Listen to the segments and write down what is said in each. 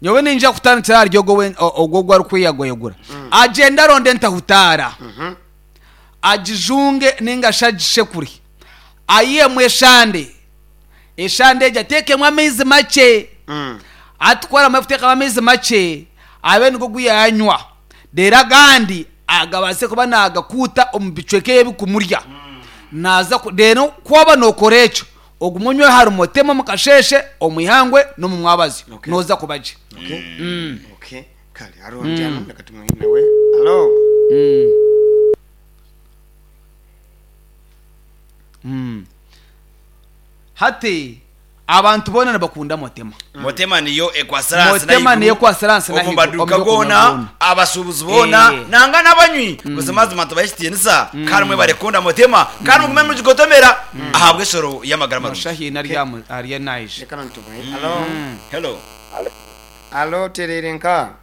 Nyowe niinyija kutandikira ahari ogwo ogwo ogu arikweyagwayagura. Agyende aronde entahutaara, agijunge nainga shi agishekure, aihemu eshande, eshande egyo ateekemu amaizi makye, hati ku aramara kuteekamu amaizi makye, abe nigo ogu yaanywa, reero agandi agabaase kuba naagakuuta omu bicweka ebi ebirikumurya. Naaza ku reero ku waaba nookora ekyo, Ogume onywe ahari Motema omu kasheeshe, omu ihangwe n'omu mwabazyo, Okay. nooza kuba gye. Okay. Okay. Kale hariho ondi hanu reka tumuhe nawe. Halo. Hati abantu boona nibakunda Motema. Motema niyo ekwasire ahansi Motema n'ahaiguru niyo ekwasire ahansi omu n'ahaiguru maduuka omu by'okunywa goona, byona. abashuubuzi boona Eh. nangwa n'abanywi. Buzimazima tubahe ekitiinisa kandi mwebare kukunda Motema kandi mugume nimugigotomera ahabw'eshoro y'amagara marungi. Nosha haine ari aha mu- ariyo naija. Reka nanu tumuhe. Halo. Hello. Halo tereire nka.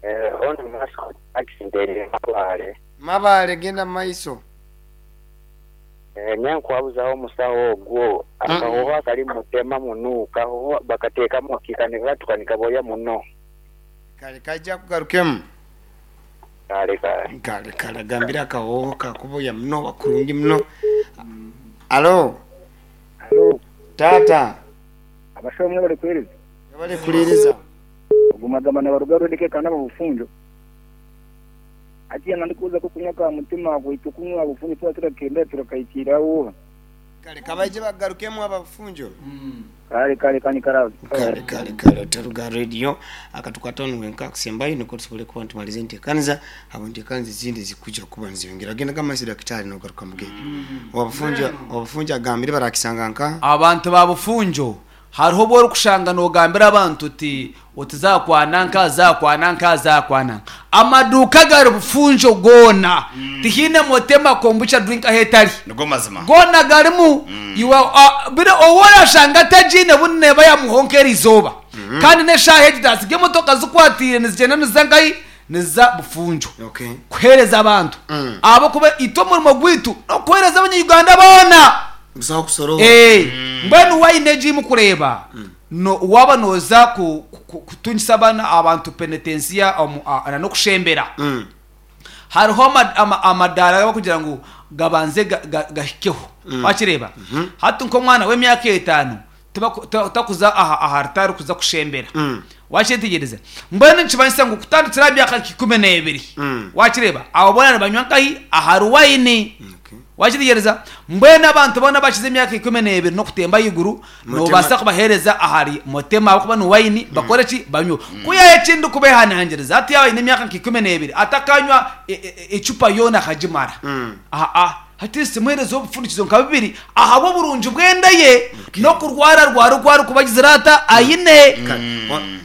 Eh, ono Mascot accident Mabale. Mabale genda mumaiso. Eh, nyankwabuzaho omusaho ogwo akahoho akali mutema munu kahoho bakatekamu ki kanikatuka nikaboya muno. Kale kaija akugarukemu. Kale kale. Kale kale agambire akahoho kakuboya muno oba kurungi muno. Alo. Alo. Taata. Abashaho mwebale kuhereza. Mwebale kuhereza. Ogu magamba nabaruga road kekana ababufunjo. Hatiya nandikubuuza ku okunywa ka mutima gwaitu okunywa bufunjo twaba turakenda turakahikirira oha? Kale kabaije bakugarukemu aba bufunjo. Kale kale kanyikara aho. Kale kale kale otaruga aha radio akatukwataho niwe nka akusembayo nikwo tusobole kuba nitumariza entekaniza ahabwa entekaniza ezindi ezikuija kuba nizeyongera. Genda gamaiso dakitari nogaruka mugende. Owa bufunjo owa bufunjo agambire barakisanga nkaha? Abantu ba bufunjo Hariho obu orikushanga noogambira abantu oti, oti zaakwana nka, zaakwana nka, zaakwana nka. Amaduuka gari bufunjo goona. Tihaine Motema Kombucha Drink ahu etari. Nigo mazima. Goona garimu. Iwe a- biri ou orashanga atagiine bundi neeba yaamuhwaho nk'eriizooba. Kandi n'eshaaha egi taatsiga emotoka zikwatiire nizigyenda niziza nkahi? Niziza Bufunjo. Okay. Kuheereza abantu. Ahabw'okuba itwe omurimo gwaitu n'okuheereza Abanya-Uganda boona. Busaho kusoroora. Eh, mbwenu wayini egi ei mukureeba, no, waaba nooza ku, ku, kutungisa abaana abantu penetensiya omu, a, na n'okushembera, hariho ama, ama, amadaara agu barikugira ngu gabanze ga, ga, gahikeho. Wakireeba? Hati nk'omwana w'emyaka etaano, tibaku, ta, takuza aha, aha rutaari kuza kushembera. Wakyetegyereza? Mbwenu nikimanyisa ngu kutandikira aha myaka nka 12, wakireeba? Abo boona nibanywa nkahi? Ahari wayini. Okay. Wakitegyereza? Mbwenu abantu boona abakize emyaka 12 n'okutemba ahaiguru, noobaasa kubaheereza ahari Motema ahabw'okuba ni waini, bakore ki? Banywe. Ku yaaha eki ndikubeehanangiriza, hati yaaba aine emyaka nka 12, atakanywa ecupa yoona akagimara. Aa, at least muheerezeho obufundikizo nka bubiri ahabw'oburungi bw'enda ye n'okurwararwara oku arikuba agizire ata aine.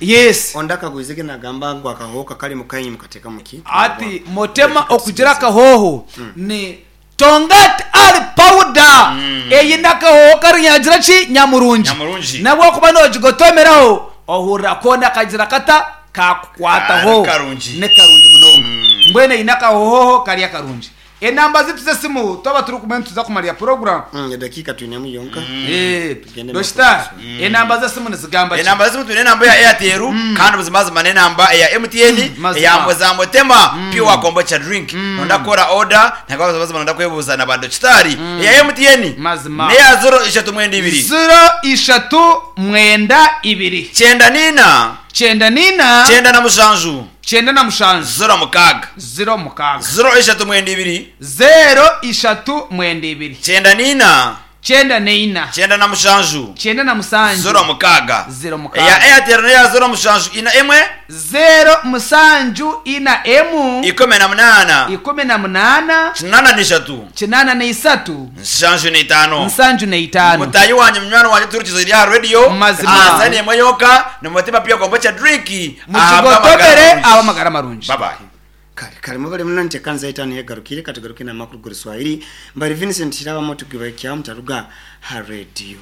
Yes. Ondi akagwize ge nagamba ngu akahooho kakari mukainyu mukateekamu ki? Hati Motema okugira akahooho ni Tongat Ali powder eine akahooho kari nyagira ki nyamurungi. Nyamurungi. Nabwokuba nogigotomeraho ohurira koona kagira kata kakukwataho. Ni karungi. Ni karungi munonga. Mbwenu eine akahooho kari akarungi. Enamba zitu z'esimu twaba turi kumwe nituza kumarira puroguramu. Edakiika twinemu yonka. Tugende Dokita, enamba z'esimu nizigamba ki? Enamba z'esimu twine enamba eya Airtel kandi buzimazima n'enamba eya MTN Mazima. eya za Motema Pure Kombucha Drink. Nonda kukora order nangwa buzimazima nonda kwebuuza na ba dokitaari. Eya MTN Mazima. n'eya 032. 032. 94. 94. 97. 97. 06. 06. 032. 032. 94. 94. 97. 97. 06. 06. Eya Airtel n'eya 074. 074. 18. 18. 83. 83. 75. 75. Mutaahi wangye, munywani wangye otuhurikize ori aha rediyo, Mazima. aha saani emwe yonka, ni Mutima Pure Kombucha Drink, ahabw'amagara Mukigotomere marungi. ahabw'amagara marungi. Bye bye. Kale kale mwebale muno ntekanza etaano egarukire katugaruke n'amakuru g'Oruswahili. Mbari Vincent Kirabamo tukibahikyaho mutaruga ha rediyo.